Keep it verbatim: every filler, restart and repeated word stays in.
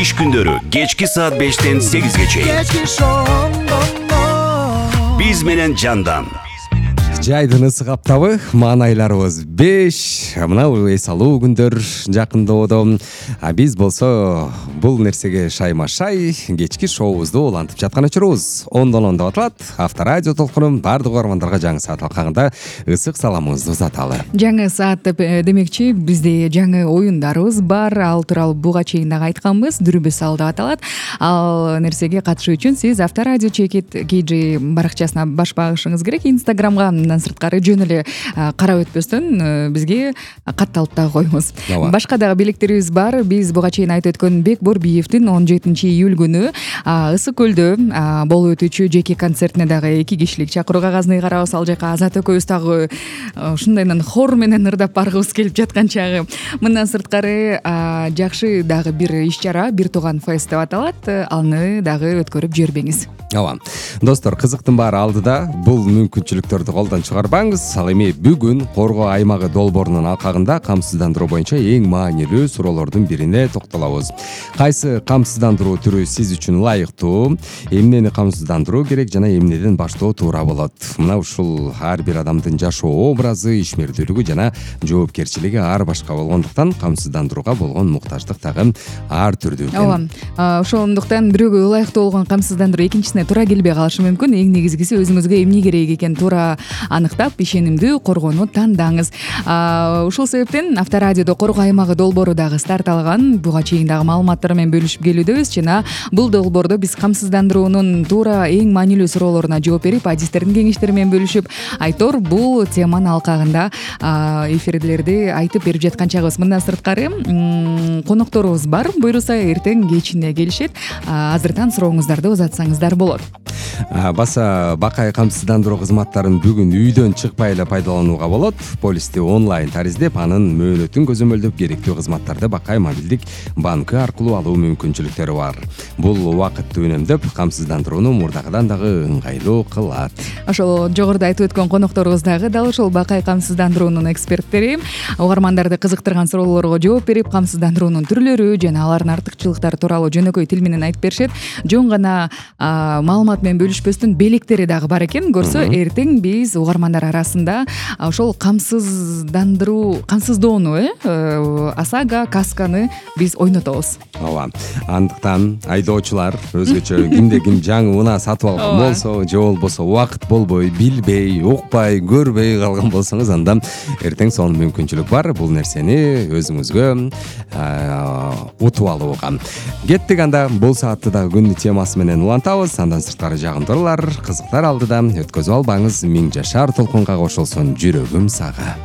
иш күндөрү кечки саат бештен сегизге чейин биз менен Жандан. Жайдын ысык аптабы, маанайларыбыз беш. Мына эс алуу күндөр жакындоодо. А биз болсо бул нерсеге шайма-шай кечки шоубузду улантып жаткан учурубуз. Ондон он деп аталат. Авторадио толкунун бардык угармандарга жаңы саат алкагында ысык саламыбызды узаталы. Жаңы саат деп демекчи, бизде жаңы оюндарыбыз бар. Ал тууралуу буга чейин дагы айтканбыз. Дүрбү сал деп аталат. Ал нерсеге катышуу үчүн сиз Авторадио чекит кей джи баракчасына баш багышыңыз керек. Инстаграмга сырткары жөн эле карап өтпөстөн бизге катталып дагы коюңуз. Башка дагы белектерибиз бар. Биз буга чейин айтып өткөн Бек Борбиевдин он жетинчи июль күнү Ысык көлдө болуп өтүүчү жеке концертине дагы эки кишилик чакыруу кагазын ыйгарабыз. Ал жака Азат экөөбүз дагы ушундайнан хор менен ырдап баргыбыз келип жаткан чагы. Мындан сырткары жакшы дагы бир иш-чара, бир тууган фест деп аталат. Аны дагы өткөрүп жибербеңиз. Ооба. Достор, кызыктын баары алдыда. Бул мүмкүнчүлүктөрдү колдон чыгарбаңыз. Ал эми бүгүн Коргоо аймагы долбоорунун алкагында камсыздандыруу боюнча эң маанилүү суроолордун бирине токтолобуз. Кайсы камсыздандыруу түрү сиз үчүн ылайыктуу? Эмнени камсыздандыруу керек жана эмнеден баштоо туура болот? Мына ушул ар бир адамдын жашоо образы, ишмердүүлүгү жана жоопкерчилиги ар башка болгондуктан камсыздандырууга болгон муктаждык дагы ар түрдүү экен. Ооба. Ошондуктан бирөөгө ылайыктуу болгон камсыздандыруу экинчисине туура келбей калышы мүмкүн. Эң негизгиси өзүңүзгө эмне керек экен туура аныктап, ишенимдүү коргоону тандаңыз. Ушул себептен Авторадиодо Коргоо аймагы долбоору дагы старт алган. Буга чейин дагы маалыматтар менен бөлүшүп келүүдөбүз жана бул долбоордо биз камсыздандыруунун туура эң маанилүү суроолоруна жооп берип, адистердин кеңештери менен бөлүшүп, айтор бул теманын алкагында эфирлерди айтып берип жаткан чагыбыз. Мындан сырткары конокторубуз бар. Буйруса эртең кечине келишет. Азыртан сурооңуздарды узатсаңыздар болот. Баса бакай камсыздандыруу кызматтарын бүгүн үйдөн чыкпай эле пайдаланууга болот. Полисти онлайн тариздеп, анын мөөнөтүн көзөмөлдөп, керектүү кызматтарды Бакай мобилдик банкы аркылуу алуу мүмкүнчүлүктөрү бар. Бул убакытты үнөмдөп, камсыздандырууну мурдагыдан дагы ыңгайлуу кылат. Ошол жогоруда айтып өткөн конокторубуз дагы дал ошол Бакай камсыздандыруунун эксперттери. Угармандарды кызыктырган суроолорго жооп берип, камсыздандыруунун түрлөрү жана алардын артыкчылыктары тууралуу жөнөкөй тил менен айтып беришет. Жөн гана маалымат менен бөлүшпөстөн белектери дагы бар экен. Көрсө эртең биз угармандар арасында ошол камсыздандыруу, камсыздоону, э, ОСАГО, касканы биз ойнотобуз. Ооба. Андыктан айдоочулар өзгөчө кимде ким жаңы унаа сатып алган болсо, же болбосо убакыт болбой, билбей, укпай, көрбөй калган болсоңуз, анда эртең сонун мүмкүнчүлүк бар. Бул нерсени өзүңүзгө утуп алууга. Кеттик анда бул саатты да күндү темасы менен улантабыз. Андан сырткары жагымдуулар, кызыктар алдыда өткөзүп албаңыз. Миң жашар толкунга кошулсун жүрөгүм сага.